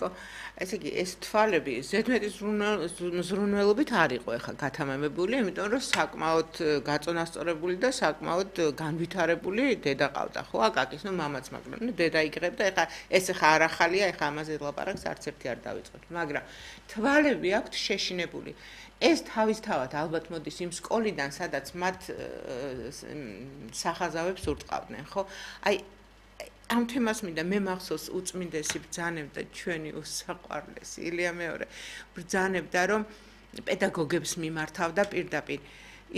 ხო? ესე იგი, ეს თვალები ზედმეტი ზრუნველობით არ იყო ახლა გათამამებული, იმიტომ რომ საკმაოდ გაწონასწორებული და საკმაოდ განვითარებული დედა ყავდა, ხო? აკაკის, მამაც, მაგრამ დედა იგრებდა, ახლა ეს ახლა არ ახალია, ახლა ამაზე ლაპარაკს არც ერთი არ დავიწყოთ, მაგრამ თვალები აქვთ შეშინებული. ეს თავისთავად ალბათ მოდის იმ სკოლიდან, სადაც მათ სახაზავებს ურტყავდნენ, ხო? აი ამ თემას მინდა მე მახსოვს უწმინდესი ბრძანებდა ჩვენი უსაყვარლესი ილია მეორე ბრძანებდა რომ პედაგოგებს მიმართავდა პირდაპირ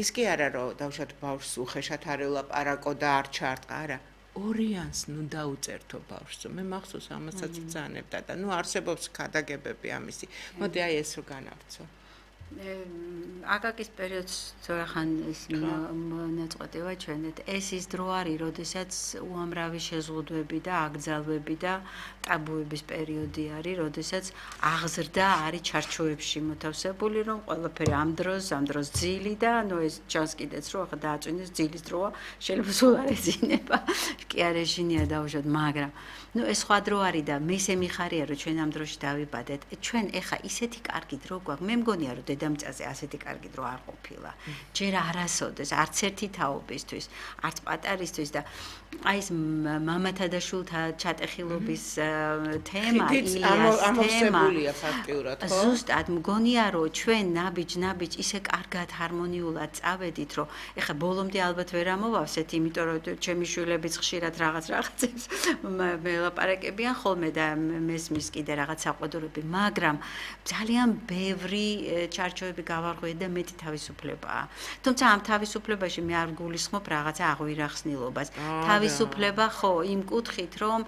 ის კი არა რომ დავუშვათ ბავშვს უხეშად არ ელაპარაკო და არ ჩარტყა არა ორიანს ნუ დაუწერთო ბავშვს მე მახსოვს ამასაც ბრძანებდა და ნუ არსებობს ქადაგებები ამისი მოდი აი ეს რო განავრცო აკაკის პერიოდს ზოგახან ის ნაწყვეტება ჩვენეთ ეს ის დრო არის როდესაც უამრავი შეზღუდვები და აკრძალვები და ტაბუების პერიოდი არის როდესაც აღზრდა არის ჩარჩოებში მოთავსებული რომ ყველაფერი ამ დროს ძილი და ნუ ეს ჩანს კიდეც რომ ახლა დააწვინეს ძილის დროა შეიძლება სულ არ ეძინება კი არ ეშინია დაუშვათ მაგრამ ნუ ეს სხვა დრო არის და მესე მიხარია რომ ჩვენ ამ დროში დავიბადეთ ჩვენ ეხა ისეთი კარგი დრო გვაქვს მე მგონია რომ დედამიწაზე ასეთი კარგი დრო არ ყოფილა. ჯერ არასოდეს, არც ერთი თაობისთვის, არც პატარისთვის და აი ეს მამათა და შვილთა ჩატეხილობის თემა, ილიას ამოვსებულია ფაქტიურად, ხო? ზუსტად მგონია რომ ჩვენ ნაბიჯ ისე კარგად ჰარმონიულად წავედით, რომ ეხა ბოლომდე ალბათ ვერ ამოვავსეთ, იმიტომ რომ ჩემი შვილებიც ხშირად რაღაცებს მელაპარაკებიან ხოლმე და მესმის კიდე რაღაც საყვედურები, მაგრამ ძალიან ბევრი ჩარჩოები გავარღვიეთ და მეტი თავისუფლებაა. თუმცა ამ თავისუფლებაში მე არ გულისხმობ რაღაცა აღვირახსნილობას. თავისუფლება ხო იმ კუთხით, რომ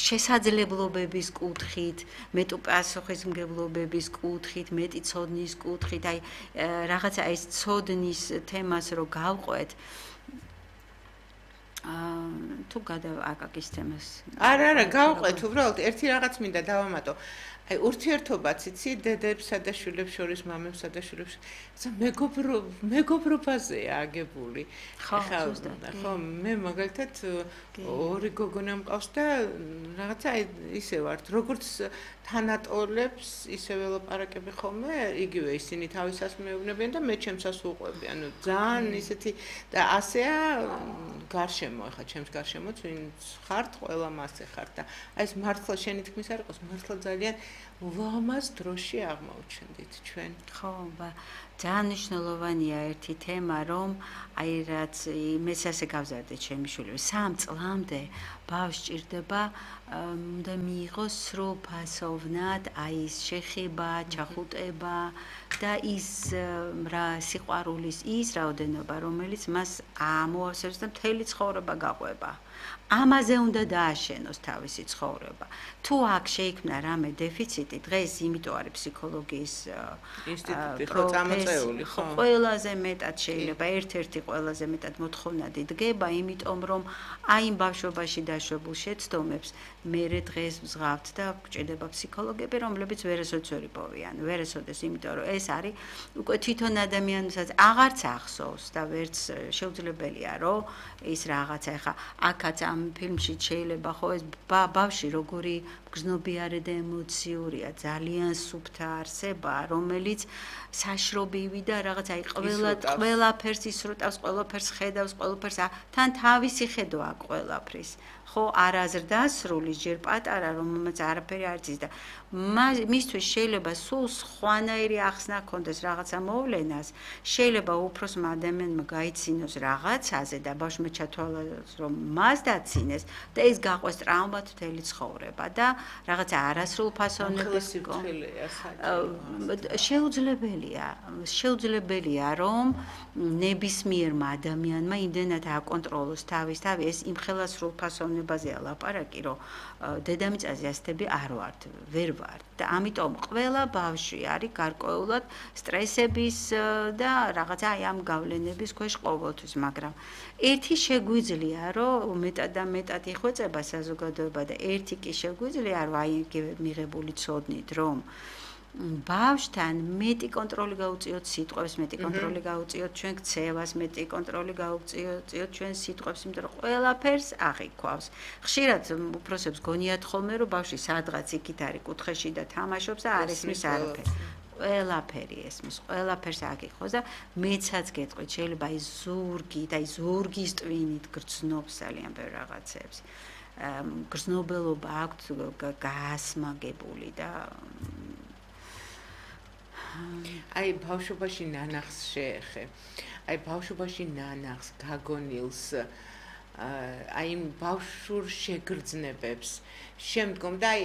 შესაძლებლობების კუთხით, მეტი პასუხისმგებლობების კუთხით, მეტი ცოდნის კუთხით, აი რაღაცა ეს ცოდნის თემას რო გავყვეთ თუ აკაკის თემას. არა, გავყვეთ, უბრალოდ ერთი რაღაც მინდა დავამატო. აი ურთიერთობაც იცი დედებსა და შვილებს შორის მამებსა და შვილებს მეგობრობაზეა აგებული ხო მე მაგალითად ორი გოგონა მყავს და რაღაცა ისე ვართ როგორც თანატოლებს ისევე ლაპარაკები ხოლმე იგივე ისინი თავისას მეუბნებიან და მე ჩემსას უყვები ანუ ძალიან ისეთი და ასეა გარშემო ახლა ჩემს გარშემოც ვინც ხართ ყველა მასე ხართ და აი ეს მართლა შენი თქმის არ იყოს მართლა ძალიან ლამაზ დროში აღმოჩნდით ჩვენ ხო ძალიან მნიშვნელოვანია ერთი თემა რომ აი რაც მეც ასე გავზარდე ჩემი შვილები 3 წლამდე ბავშვს ჭირდება უნდა მიიღოს სრულ ფასოვნად აი ეს შეხება, ჩახუტება და ის რა სიყვარულის ის რაოდენობა რომელიც მას ამოავსებს და მთელი ცხოვრება გაყვება. ამაზე უნდა დააშენოს თავისი ცხოვრება. თუ აქ შეიქმნა რამე დეფიციტი, დღეს იმიტომ არის ფსიქოლოგიის ინსტიტუტი ხო წამოწეული ხო. ყველაზე მეტად შეიძლება ერთ-ერთი ყველაზე მეტად მოთხოვნადი დგება, იმიტომ რომ აი იმ ბავშვობაში დაშვებულ შეცდომებს მერე დღეს ვზღავთ და გვჭირდება ფსიქოლოგები, რომლებიც ვერასოდეს ვერ იპოვიან. ვერასოდეს, იმიტომ რომ ეს არის უკვე თვითონ ადამიანსაც აღარც ახსოვს და ვერც შეუძლებელია, რომ ის რაღაცა ეხა აქაც ამ ფილმში შეიძლება ხო ეს ბავშვი როგორი გრძნობიარე და ემოციურია, ძალიან სუფთა არსება, რომელიც საშრობივი და რაღაც აი ყველაფერს ისრუტავს, ყველაფერს ხედავს, ყველაფერს თან თავისი ხედვა ყველაფრის. ხო არაზრდასრული ჯერ პატარა რომელმაც არაფერი არ იცის და მისთვის შეიძლება სულ სხვანაირი ახსნა ქონდეს რაღაცა მოვლენას შეიძლება უფროსმა ადამიანმა გაიცინოს რაღაცაზე და ბავშვმა ჩათვალოს რომ მას დაცინეს და ეს გაყვეს ტრაუმად მთელი ცხოვრება და რაღაცა არასრულ ფასონების შეუძლებელია რომ ნებისმიერმა ადამიანმა იმდენად აკონტროლოს თავი ეს იმხელა სრულ ფასოვნებაზეა ლაპარაკი რომ დედამიწაზე ასეთები არ ვართ ვერ ვართ და ამიტომ ყველა ბავშვი არის გარკვეულად სტრესების და რაღაცა აი ამ გავლენების ქვეშ ყოველთვის მაგრამ ერთი შეგვიძლია რომ მეტად და მეტად იხვეწება საზოგადოება და ერთი კი შეგვიძლია რომ აი მიღებული ცოდნით რომ ბავშვთან მეტი კონტროლი გაუწიოთ სიტყვებს, მეტი კონტროლი გაუწიოთ ჩვენ ქცევას, მეტი კონტროლი გაუწიოთ ჩვენ სიტყვებს, იმიტომ რომ ყველაფერს აღიქვავს. ხშირად უფროსებს გონიათ ხოლმე, რომ ბავშვი სადღაც იქით არის კუთხეში და თამაშობს და არ ესმის არაფერი. ყველაფერი ესმის, ყველაფერს აგიქვავს და მეცაც გეტყვით, შეიძლება აი ზურგი და აი ზურგის ტვინით გრძნობს ძალიან ბევრ რაღაცებს. გრძნობელობა აქვს გაასმაგებული და აი ბავშვობაში ნანახს შეეხე. აი ბავშვობაში ნანახს გაგონილს აი ბავშვურ შეგრძნებებს შემდგომ და აი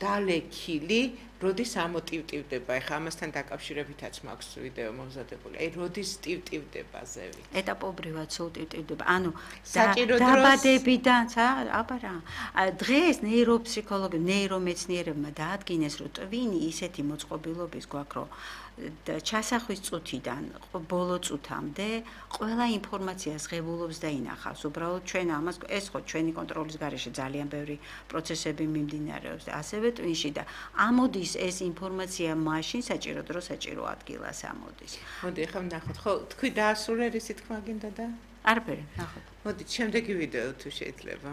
დალექილი როდის ამოტივტივდება ეხა ამასთან დაკავშირებითაც მაქვს ვიდეო მომზადებული აი როდის ტივტივდება ზევი ეტაპობრივად სულ ტივტივდება ანუ დაბადებიდან აბა რა დღეს ნეიროფსიქოლოგი ნეირომეცნიერებმა დაადგინეს რომ ტვინი ისეთი მოწყობილობის გვაქვს რომ ჩასახვის წუთიდან ბოლო წუთამდე ყველა ინფორმაციას ღებულობს და ინახავს უბრალოდ ჩვენ ამას ეს ხო ჩვენი კონტროლის გარეშე ძალიან ბევრი პროცესები მიმდინარეობს და ასევე ტვინში და ამოდის ეს ინფორმაცია მაშინ საჭირო დრო საჭირო ადგილას ამოდის. მოდი ახლა ვნახოთ. ხო, თქვი დაასრულე რისი თქმა გინდა და? არაფერი, ნახოთ. მოდით, შემდეგი ვიდეო თუ შეიძლება.